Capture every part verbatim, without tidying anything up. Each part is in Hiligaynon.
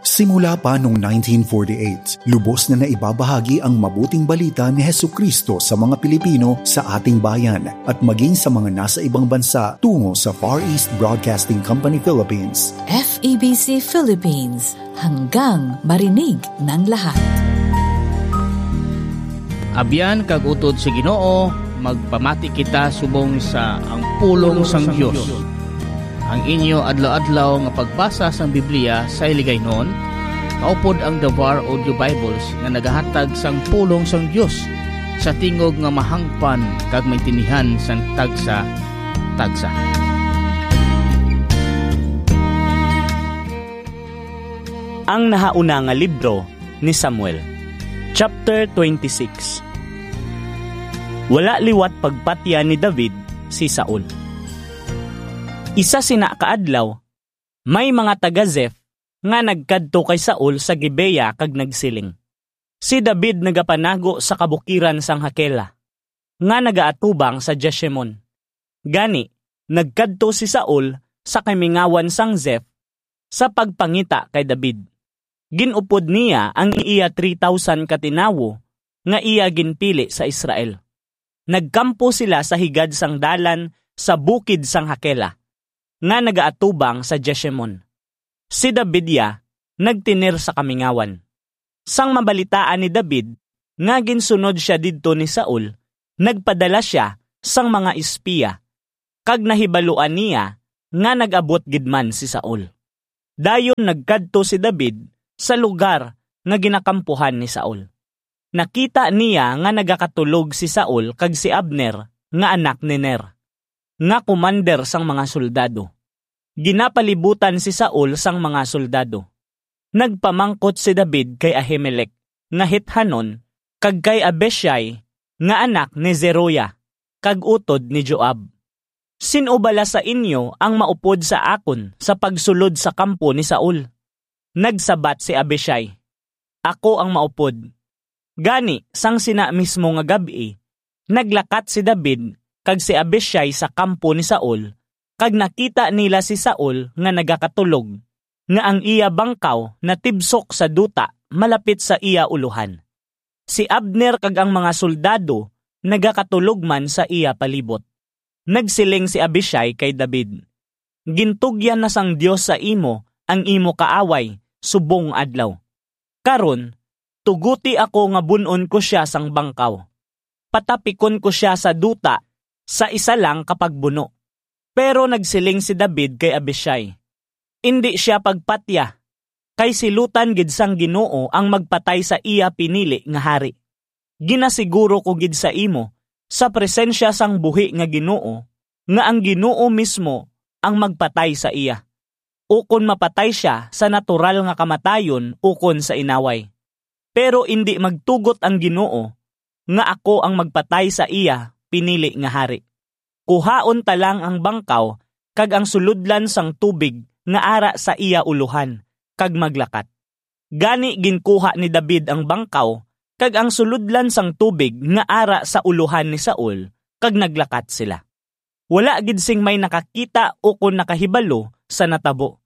Simula pa noong nineteen forty-eight, lubos na naibabahagi ang mabuting balita ni Jesu-Cristo sa mga Pilipino sa ating bayan at maging sa mga nasa ibang bansa tungo sa Far East Broadcasting Company Philippines. F E B C Philippines, hanggang marinig ng lahat. Abyan kag utod sa Ginoo, magpamati kita subong sa Ang Pulong sang Dios. Ang inyo adlaw-adlaw nga pagbasa sang Biblia sa Hiligaynon, maupod ang Davar Audio Bibles nga nagahatag sang pulong sang Dios sa tingog nga mahangpan kag maintindihan sang tagsa-tagsa. Ang nahauna nga libro ni Samuel, chapter twenty-six. Wala liwat pagpatya ni David si Saul. Isa sina ka adlaw, may mga taga Ziph nga nagkadto kay Saul sa Gibea kag nagsiling, "Si David nagapanago sa kabukiran sang Hakela, nga nagaatubang sa Jeshimon." Gani, nagkadto si Saul sa kamingawan sang Ziph sa pagpangita kay David. Gin-upod niya ang iya three thousand ka tinawo nga iya ginpili sa Israel. Nagkampo sila sa higad sang dalan sa bukid sang Hakela, nga nagaatubang sa Jeshimon. Si David ya nagtener sa kamingawan. Sang mabalitaan ni David nga ginsunod sia didto ni Saul, nagpadala sia sang mga espiya, kag nahibaluan niya nga nag-abot gid man si Saul. Dayon nagkadto si David sa lugar nga ginakampuhan ni Saul. Nakita niya nga nagakatulog si Saul kag si Abner nga anak ni Ner, nga komander sang mga soldado. Ginapalibutan si Saul sang mga soldado. Nagpamangkot si David kay Ahimelec nga Hithanon kag kay Abishai nga anak ni Zeruiah kag utod ni Joab, "Sin-o bala sa inyo ang maupod sa akon sa pagsulod sa kampo ni Saul?" Nagsabat si Abishai, "Ako ang maupod." Gani, sang sina mismo nga gab-i, naglakat si David kag si Abishai sa kampo ni Saul, kag nakita nila si Saul nga nagakatulog, nga ang iya bangkaw natibsok sa duta malapit sa iya ulohan. Si Abner kag ang mga soldado nagakatulog man sa iya palibot. Nagsiling si Abishai kay David, "Gintugyan na sang Dios sa imo ang imo kaaway subong adlaw. Karon, tuguti ako nga bun-on ko sia sang bangkaw. Patapikon ko sia sa duta sa isa lang ka pagbuno." Pero nagsiling si David kay Abishai, "Indi sia pagpatya, kay silutan gid sang Ginoo ang magpatay sa iya pinili nga hari. Ginasiguro ko gid sa imo, sa presensya sang buhi nga Ginoo, nga ang Ginoo mismo ang magpatay sa iya, ukon mapatay sia sa natural nga kamatayon ukon sa inaway. Pero indi magtugot ang Ginoo nga ako ang magpatay sa iya pinili nga hari. Kuhaon ta lang ang bangkaw kag ang sulodlan sang tubig nga ara sa iya ulohan, kag maglakat." Gani ginkuha ni David ang bangkaw kag ang sulodlan sang tubig nga ara sa ulohan ni Saul, kag naglakat sila. Wala gid sing may nakakita ukon nakahibalo sa natabo.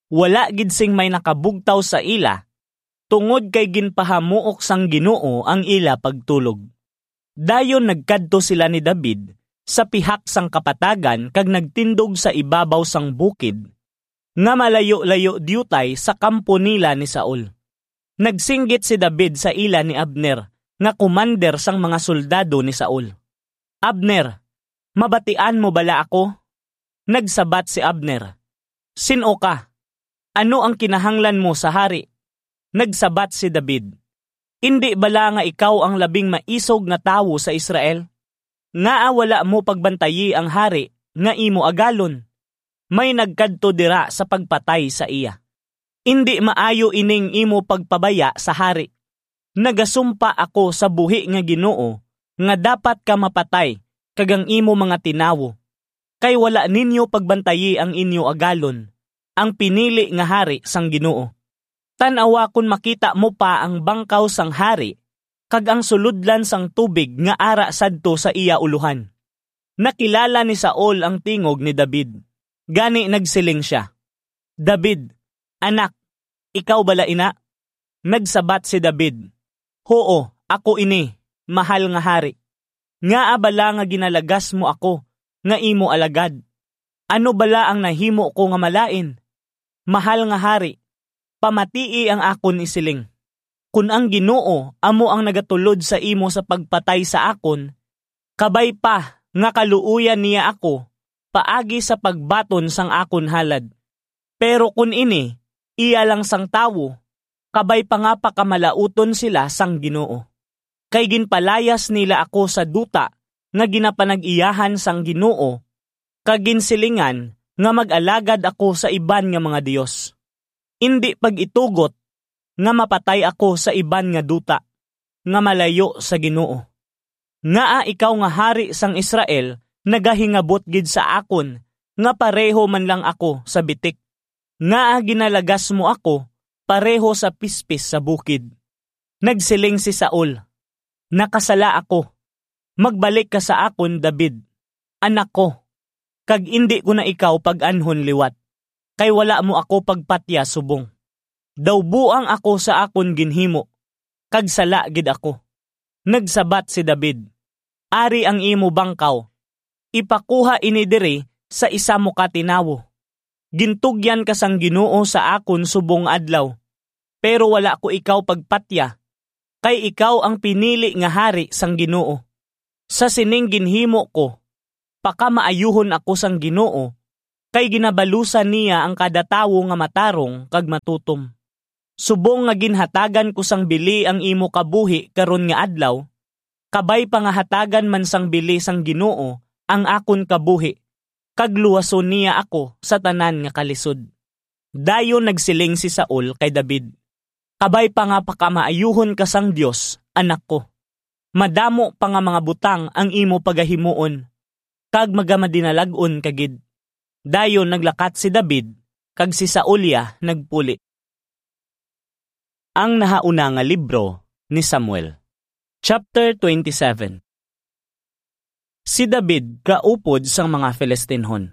Wala gid sing may nakabugtaw sa ila, tungod kay ginpahamuok sang Ginoo ang ila pagtulog. Dayon nagkadto sila ni David sa pihak sang kapatagan kag nagtindog sa ibabaw sang bukid, nga malayo-layo diutay sa kampo nila ni Saul. Nagsinggit si David sa ila ni Abner, nga komander sang mga soldado ni Saul, "Abner, mabatian mo bala ako?" Nagsabat si Abner, "Sin-o ka? Ano ang kinahanglan mo sa hari?" Nagsabat si David, "Indi bala nga ikaw ang labing maisog nga tawo sa Israel? Ngaa wala mo pagbantayi ang hari nga imo agalon? May nagkadto dira sa pagpatay sa iya. Indi maayo ining imo pagpabaya sa hari. Nagasumpa ako sa buhi nga Ginoo nga dapat ka mapatay, kag ang imo mga tinawo, kay wala ninyo pagbantayi ang inyo agalon, ang pinili nga hari sang Ginoo. Tan-awa kon makita mo pa ang bangkaw sang hari kag ang sulodlan sang tubig nga ara sadto sa iya ulohan." Nakilala ni Saul ang tingog ni David, gani nagsiling sia, "David, anak, Ikaw bala ina?" Nagsabat si David, "Huo, ako ini, mahal nga hari. Ngaa bala nga ginalagas mo ako nga imo alagad? Ano bala ang nahimo ko nga malain? Mahal nga hari, pamatii ang akon isiling. Kon ang Ginoo amo ang nagatulod sa imo sa pagpatay sa akon, kabay pa nga kaluoyan niya ako paagi sa pagbaton sang akon halad. Pero kon ini iya lang sang tawo, kabay pa nga pakamalaoton sila sang Ginoo. Kay ginpalayas nila ako sa duta nga ginapanag-iyahan sang Ginoo, kag ginsilingan nga mag-alagad ako sa iban nga mga dios. Indi pag-itugot nga mapatay ako sa iban nga duta nga malayo sa Ginoo. Ngaa ikaw nga hari sang Israel nagahingabot gid sa akon nga pareho man lang ako sa bitik? Ngaa ginalagas mo ako pareho sa pispis sa bukid?" Nagsiling si Saul, "Nakasala ako. Magbalik ka sa akon, David, anak ko, kag indi ko na ikaw pag-anhon liwat, kay wala mo ako pagpatya subong. Daw buang ako sa akon ginhimo, kag sala gid ako." Nagsabat si David, "Ari ang imo bangkaw. Ipakuha ini diri sa isa mo ka tinawo. Gintugyan ka sang Ginoo sa akon subong nga adlaw, pero wala ko ikaw pagpatya, kay ikaw ang pinili nga hari sang Ginoo. Sa sining ginhimo ko, pakamaayuhon ako sang Ginoo, kay ginabalusan niya ang kada tawo nga matarong kag matutom. Subong nga ginhatagan ko sang bili ang imo kabuhi karon nga adlaw, kabay pa nga hatagan man sang bili sang Ginoo ang akon kabuhi, kag luwason niya ako sa tanan nga kalisod." Dayon nagsiling si Saul kay David, "Kabay pa nga pakamaayuhon ka sang Dios, anak ko. Madamo pa nga mga butang ang imo pagahimuon, kag magamadinalag-on ka gid." Dayon naglakat si David, kag si Saul iya nagpuli. Ang nahauna nga libro ni Samuel, chapter twenty-seven. Si David kaupod sang mga Filistinhon.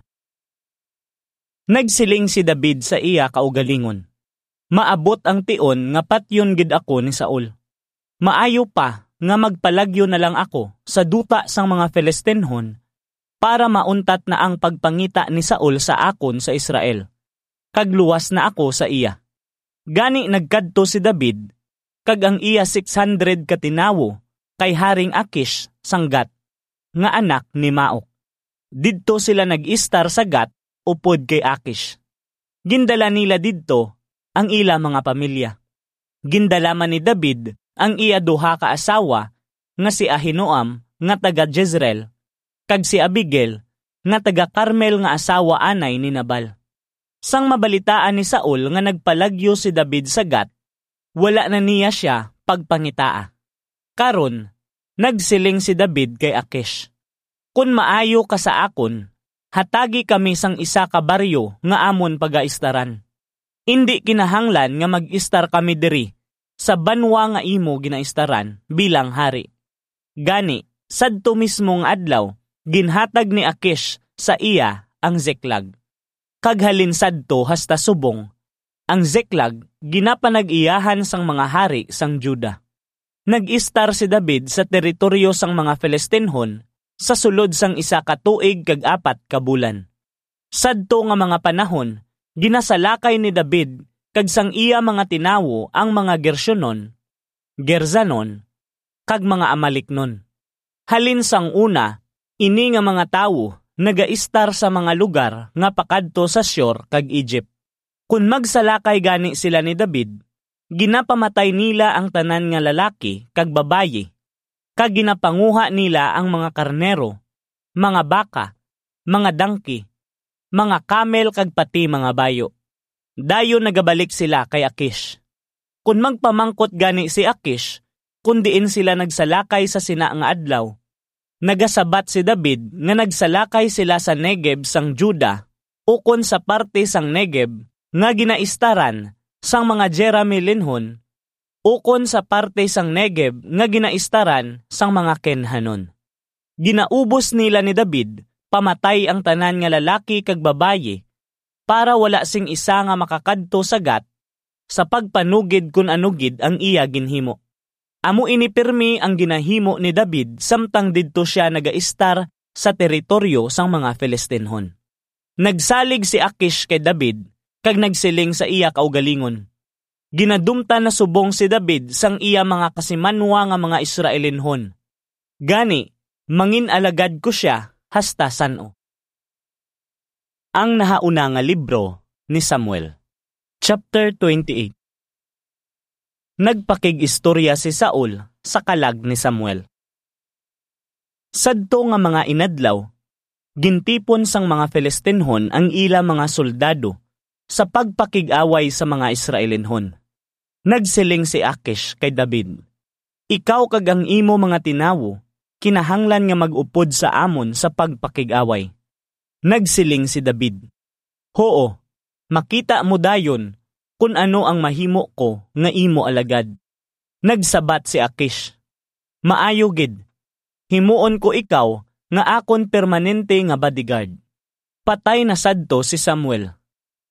Nagsiling si David sa iya kaugalingon, "Maabot ang tion nga patyon gid ako ni Saul. Maayo pa nga magpalagyo na lang ako sa duta sang mga Filistinhon, para mauntat na ang pagpangita ni Saul sa akon sa Israel, kag luwas na ako sa iya." Gani nagkadto si David kag ang iya six hundred ka tinawo kay Haring Akish sang Gat, nga anak ni Maok. Didto sila nag-istar sa Gat upod kay Akish. Gindala nila didto ang ila mga pamilya. Gindala man ni David ang iya duha ka asawa, nga si Ahinoam nga taga Jezreel kag si Abigail nga taga Carmel nga asawa anay ni Nabal. Sang mabalitaan ni Saul nga nagpalagyo si David sa Gat, wala na niya sia pagpangitaa. Karon, nagsiling si David kay Akish, "Kon maayo ka sa akon, hatagi kami sang isa ka baryo nga amon pagaistaran. Indi kinahanglan nga mag-istar kami diri sa banwa nga imo ginaistaran bilang hari." Gani, sadto mismo nga adlaw, ginhatag ni Akish sa iya ang Ziklag. Kag halin sadto hasta subong, ang Ziklag ginapanag-iyahan sang mga hari sang Juda. Nag-istar si David sa teritoryo sang mga Filistinhon sa sulod sang isa ka tuig kag apat ka bulan. Sadto nga mga panahon, ginasalakay ni David kag sang iya mga tinawo ang mga Gershonon, Gerzanon, kag mga Amalicnon. Halin sang una, ini nga mga tawo nagaistar sa mga lugar nga pakadto sa Shur kag Egypt. Kon magsalakay gani sila ni David, ginapamatay nila ang tanan nga lalaki kag babayi, kag ginapanguha nila ang mga karnero, mga baka, mga dangki, mga kamel, kag pati mga bayo. Dayon nagabalik sila kay Akish. Kon magpamangkot gani si Akish kon diin sila nagsalakay sa sina nga adlaw, nagasabat si David nga nagsalakay sila sa Negeb sang Juda, ukon sa parte sang Negeb nga ginaistaran sang mga Jerahmeelinhon, ukon sa parte sang Negeb nga ginaistaran sang mga Kenhanon. Ginaubos nila ni David pamatay ang tanan nga lalaki kag babayi, para wala sing isa nga makakadto sa Gat, sa pagpanugid kon ano gid ang iya ginhimo. Amo ini pirmi ang ginahimo ni David samtang didto sia nagaistar sa teritoryo sang mga Filistinhon. Nagsalig si Akish kay David kag nagsiling sa iya kaugalingon, "Ginadumtan na subong si David sang iya mga kasimanwa nga mga Israelinhon. Gani, mangin-alagad ko sia hasta san-o." Ang nahauna nga libro ni Samuel. Chapter twenty-eight. Nagpakig-istorya si Saul sa kalag ni Samuel. Sadto nga mga inadlaw, gintipon sang mga Filistinhon ang ila mga soldado sa pagpakig-away sa mga Israelinhon. Nagsiling si Akish kay David, "Ikaw kag ang imo mga tinawo kinahanglan nga mag-upod sa amon sa pagpakig-away." Nagsiling si David, "Huo, makita mo dayon kon ano ang mahimo ko nga imo alagad." Nagsabat si Akish, "Maayo gid, himuon ko ikaw nga akon permanente nga bodyguard." Patay na sadto si Samuel.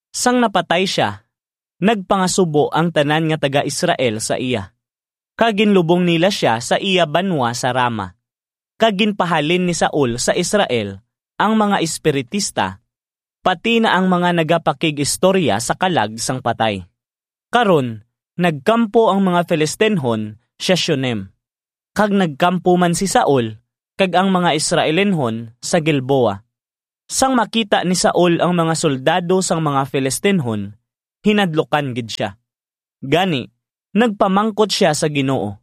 Sang napatay sia, nagpangasubo ang tanan nga taga-Israel sa iya, kag ginlubong nila sia sa iya banwa sa Rama, kag ginpahalin ni Saul sa Israel ang mga espiritista, pati na ang mga nagapakig-istorya sa kalag sang patay. Karon, nagkampo ang mga Filistinhon sa Shunem, kag nagkampo man si Saul kag ang mga Israelinhon sa Gilboa. Sang makita ni Saul ang mga soldado sang mga Filistinhon, hinadlukan gid sia. Gani, nagpamangkot sia sa Ginoo,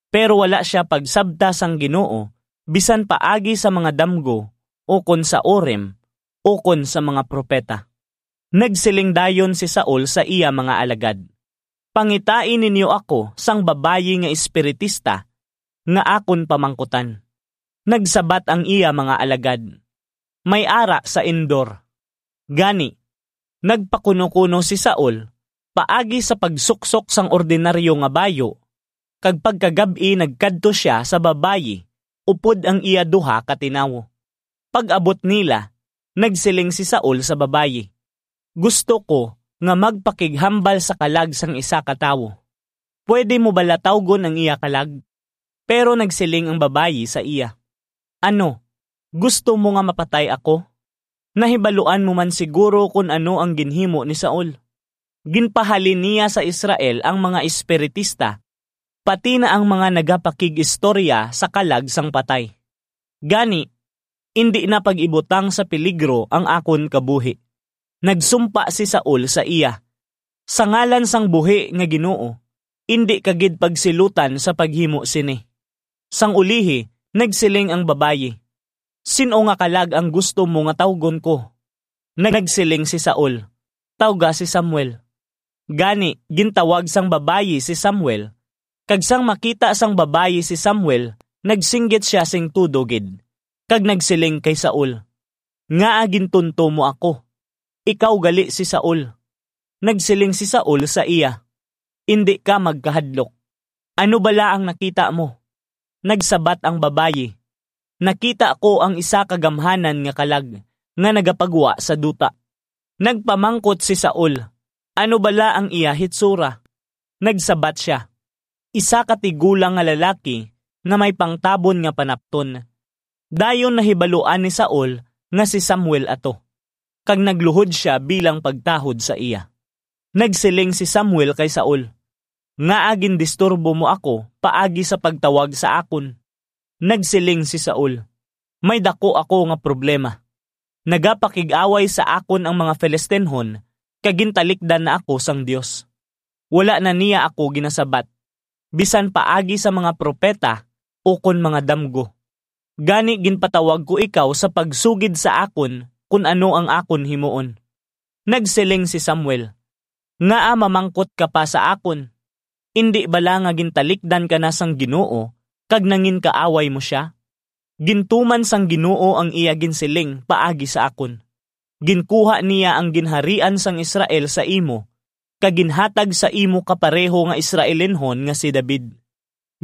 pero wala sia pagsabta sang Ginoo bisan paagi sa mga damgo, ukon sa Urim, ukon sa mga propeta. Nagsiling dayon si Saul sa iya mga alagad, "Pangitai ninyo ako sang babayi nga espiritista nga akon pamangkutan." Nagsabat ang iya mga alagad, "May ara sa Endor." Gani, nagpakunokuno si Saul paagi sa pagsuksok sang ordinaryo nga bayo, kag pagkagab-i nagkadto sia sa babayi upod ang iya duha ka tinawo. Pag-abot nila, nagsiling si Saul sa babayi, "Gusto ko nga magpakighambal sa kalag sang isa ka tawo. Pwede mo bala tawgon ang iya kalag?" Pero nagsiling ang babayi sa iya, "Ano, gusto mo nga mapatay ako? Nahibaluan mo man siguro kon ano ang ginhimo ni Saul. Ginpahalin niya sa Israel ang mga espiritista, pati na ang mga nagapakig-istorya sa kalag sang patay. Gani, indi na pag-ibutang sa peligro ang akon kabuhi." Nagsumpa si Saul sa iya, "Sa ngalan sang buhi nga Ginoo, indi ka gid pagsilutan sa paghimo sini." Sang ulihi, nagsiling ang babayi, "Sin-o nga kalag ang gusto mo nga tawgon ko?" Nagsiling si Saul, "Tawga si Samuel." Gani, gintawag sang babayi si Samuel, kag sang makita sang babayi si Samuel, nagsinggit sia sing tudo gid, kag nagsiling kay Saul, "Ngaa gintunto mo ako? Ikaw gali si Saul." Nagsiling si Saul sa iya, "Indi ka magkahadlok. Ano bala ang nakita mo?" Nagsabat ang babayi, "Nakita ko ang isa ka gamhanan nga kalag nga nagapagwa sa duta." Nagpamangkot si Saul, "Ano bala ang iya hitsura?" Nagsabat sia, "Isa ka tigulang nga lalaki nga may pangtabon nga panapton." Dayon nahibaluan ni Saul nga si Samuel ato, kag nagluhod sia bilang pagtahod sa iya. Nagsiling si Samuel kay Saul, "Ngaa gindisturbo mo ako paagi sa pagtawag sa akon?" Nagsiling si Saul, "May daku ako nga problema. Nagapakig-away sa akon ang mga Filistinhon, kag gintalikdan na ako sang Dios. Wala na niya ako ginasabat, bisan paagi sa mga propeta ukon mga damgo. Gani ginpatawag ko ikaw sa pagsugid sa akon kon ano ang akon himuon." Nagsiling si Samuel, "Ngaa mamangkot ka pa sa akon? Indi bala nga gintalikdan ka na sang Ginoo kag nanginkaaway mo sia? Gintuman sang Ginoo ang iya ginsiling paagi sa akon. Ginkuha niya ang ginharian sang Israel sa imo, kag ginhatag sa imo kapareho nga Israelinhon nga si David.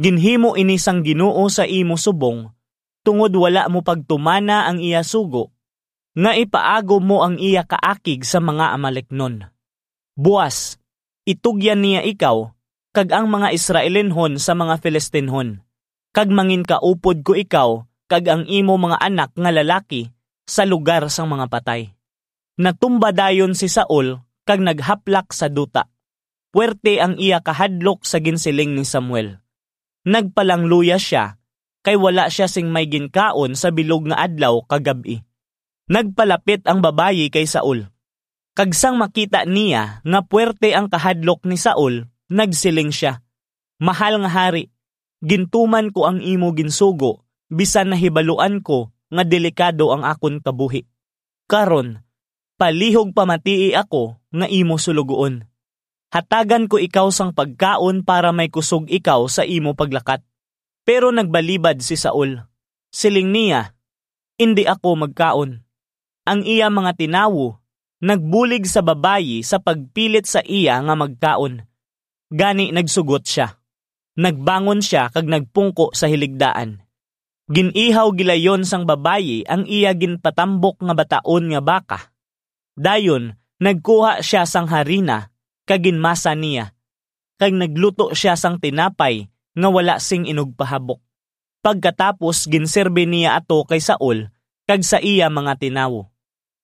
Ginhimo ini sang Ginoo sa imo subong, tungod wala mo pagtumana ang iya sugo, nga ipaagom mo ang iya kaakig sa mga Amaleknon. Buas, Itugyan niya ikaw kag ang mga Israelinhon sa mga Filistinhon, kag manginkaupod ko ikaw kag ang imo mga anak nga lalaki sa lugar sang mga patay." Natumba dayon si Saul kag naghaplak sa duta. Puwerte ang iya kahadlok sa ginsiling ni Samuel. Nagpalangluya sia, kay wala sia sing may ginkaon sa bilog nga adlaw kag gab-i. Nagpalapit ang babayi kay Saul, kag sang makita niya nga puwerte ang kahadlok ni Saul, nagsiling sia, "Mahal nga hari, gintuman ko ang imo ginsugo, bisan nahibaluan ko nga delikado ang akon kabuhi. Karon, palihog pamatii ako nga imo suloguon. Hatagan ko ikaw sang pagkaon para may kusog ikaw sa imo paglakat." Pero nagbalibad si Saul. Siling niya, "Indi ako magkaon." Ang iya mga tinawo nagbulig sa babayi sa pagpilit sa iya nga magkaon. Gani nagsugot sia. Nagbangon sia kag nagpungko sa hiligdaan. Gin-ihaw gilayon sang babayi ang iya ginpatambok nga bataon nga baka. Dayon nagkuha sia sang harina kag ginmasa niya, kag nagluto sia sang tinapay nga wala sing inugpahabok. Pagkatapos, ginserbi niya ato kay Saul kag sa iya mga tinawo,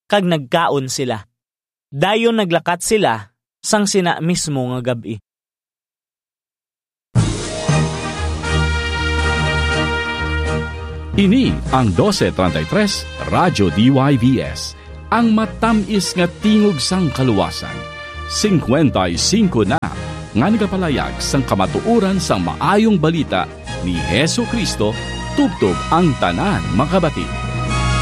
kag nagkaon sila. Dayon naglakat sila sang sina mismo nga gab-i. Ini ang doce treinta y tres Radyo D Y V S, ang matamis nga tingog sang kaluwasan. Singkwenta y singko na nga nagapalayag sang kamatuoran sang maayong balita ni Jesu-Cristo tubtob ang tanan makabati.